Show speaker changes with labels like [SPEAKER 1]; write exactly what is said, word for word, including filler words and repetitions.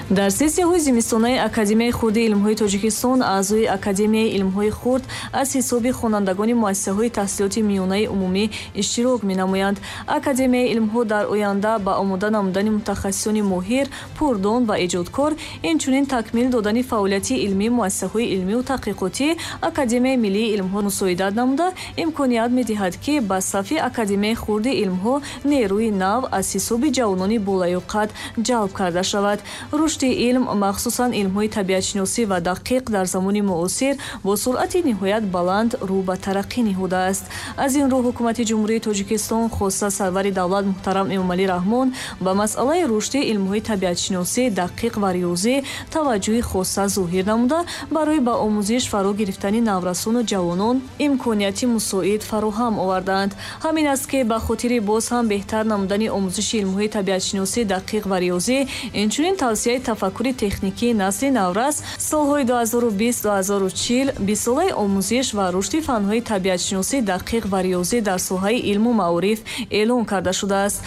[SPEAKER 1] Дар сессияҳои зимистонаи Академияи хурди илмҳои Тоҷикистон аъзои Академияи илмҳои хурд аз ҳисоби хонандагони муассисаҳои таҳсилоти миёнаи умумӣ иштирок менамоянд. Академияи илмҳо дар оянда ба омода намудани мутахассисони моҳир, пурдон ва эҷодкор, инчунин такмил додани фаъолияти илмии муассисаҳои илмию таҳқиқотӣ Академияи миллии илмҳо мусоидат намуда, имконият медиҳад, ки ба сафи Академияи хурди илмҳо нерӯи нав аз ҳисоби ҷавонони болаёқат ҷалб карда шавад. Рушди илм, махсусан илмҳои табиатшиносӣ ва дақиқ, дар замони муосир бо суръати ниҳоят баланд рӯ ба тараққӣ ниҳодааст. Аз ин рӯ ҳукумати Ҷумҳурии Тоҷикистон, хоса сарвари давлат муҳтарам Эмомалӣ Раҳмон, ба масъалаи рушди илмҳои табиатшиносӣ, дақиқ ва риёзӣ таваҷҷӯҳи хоса зоҳир намуда, барои ба омӯзиш фаро гирифтани наврасону ҷавонон имконияти мусоид фароҳам овардаанд. Ҳамин аст, ки ба хотири боз ҳам беҳтар намудани омӯзиши илмҳои табиатшиносӣ, дақиқ ва риёзӣ, инчунин тавсияи тафаккури техникии насли наврас, солҳои ду ҳазору бист ду ҳазору чил бистсолаи омӯзиш ва рушди фанҳои табиатшиносӣ, дақиқ ва риёзӣ дар соҳаи илму маориф эълон карда шудааст.